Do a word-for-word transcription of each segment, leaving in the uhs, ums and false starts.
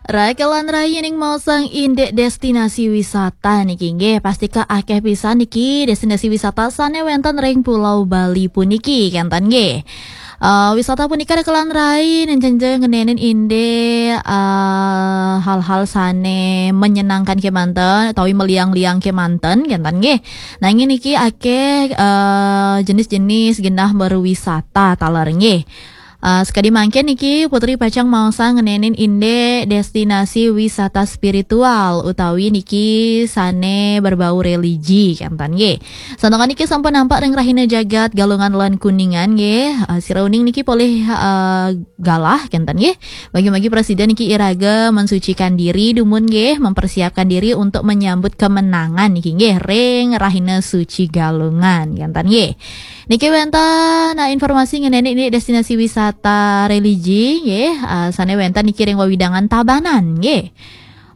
Rakelan rai, ning maosang indik destinasi wisata niki nggih, pastika akeh pisan niki destinasi wisata sane wenten ring Pulau Bali puniki, kenten nggih. Eh, wisata punika rakelan rai nenjenjeng ngenenin indik, eh, hal-hal sane menyenangkan kemanten utawi meliang-liang kemanten, kenten nggih. Nanging niki akeh, eh, jenis-jenis genah berwisata taler nggih. Uh, sekadi mangkin niki Putri pacang maosang ngenenin indik destinasi wisata spiritual utawi niki sane berbau religi, kenten nggih. Santukan niki sampun nampak ring rahina jagat Galungan lan Kuningan nggih. Uh, sira uning niki polih, uh, galah, kenten nggih. Bagi-bagi prasida niki iraga mensucikan diri dumun nggih, mempersiapkan diri untuk menyambut kemenangan niki nggih ring rahina suci Galungan, kenten nggih. Niki wenten, nah, informasi ngeneni ini destinasi wisata religi nggih, eh, sane wenten niki ring wewidangan Tabanan nggih.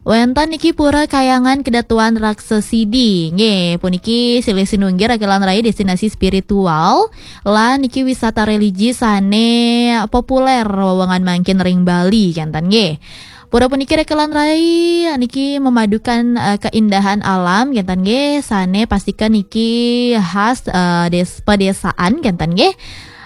Wenten niki Pura Kayangan Kedatuan Raksasidi nggih. Puniki silih sinunggil rakelan rai destinasi spiritual lan niki wisata religi sane populer wewengan mangkin ring Bali, kenten nggih. Pura puniki rakelan rai niki memadukan, eh, keindahan alam, kenten nggih, sane pastika niki khas, eh, des-, pedesaan, kenten nggih.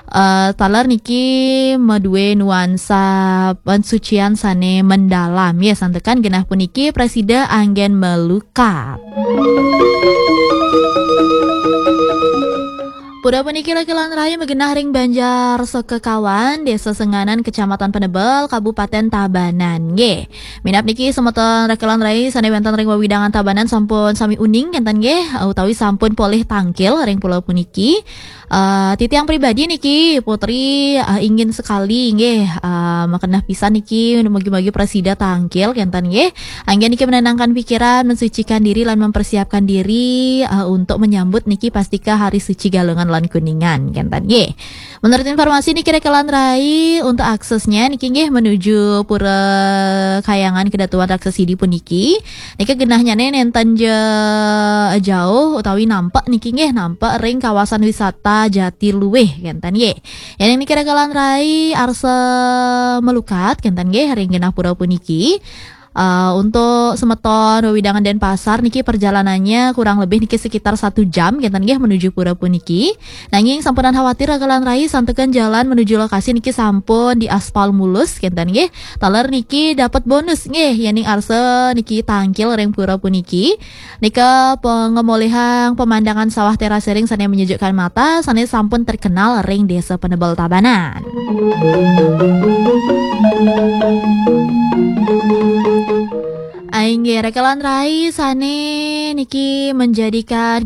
Eh, taler niki madue nuansa pensucian sane mendalam, ya, santukan genah puniki prasida anggen melukat. Pura puniki rakelan rai magenah ring Banjar Sekekawan, Desa Senganan, Kecamatan Penebel, Kabupaten Tabanan nggih. Minab niki semeton rakelan rai sane wenten ring wewidangan Tabanan sampun sami uning, kenten nggih, utawi sampun polih tangkil ring pulau puniki. Eh, titiang pribadi niki, Putri, eh, ingin sekali nggih, eh, magenah pisan niki, mugi-mugi prasida tangkil, kenten nggih. Anggen niki menenangkan pikiran, mensucikan diri, lan mempersiapkan diri, eh, untuk menyambut niki pastika Hari Suci Galungan lan Kuningan, kenten nggih. Menurut informasi niki rakelan rai, untuk aksesnya niki nggih menuju Pura Kayangan Kedatuan Raksasidi puniki. Niki genahnyane nenten ja-, jauh utawi nampak niki nggih, nampak ring kawasan wisata Jatiluwih, kenten nggih. Yen niki rakelan rai arsa melukat, kenten nggih, ring genah pura puniki. Eh, untuk semeton wewidangan Denpasar niki perjalanannya kurang lebih niki sekitar satu jam, kenten nggih, menuju pura puniki. Nanging sampunang khawatir rakelan rai, santukan jalan menuju lokasi niki sampun diaspal mulus, kenten nggih. Taler niki dapat bonus nggih, yening arsa niki tangkil ring pura puniki. Nika pengemolihang pemandangan sawah terasering sane menyejukkan mata, sane sampun terkenal ring Desa Penebel Tabanan. Inggih, rakelan rai sane niki menjadikan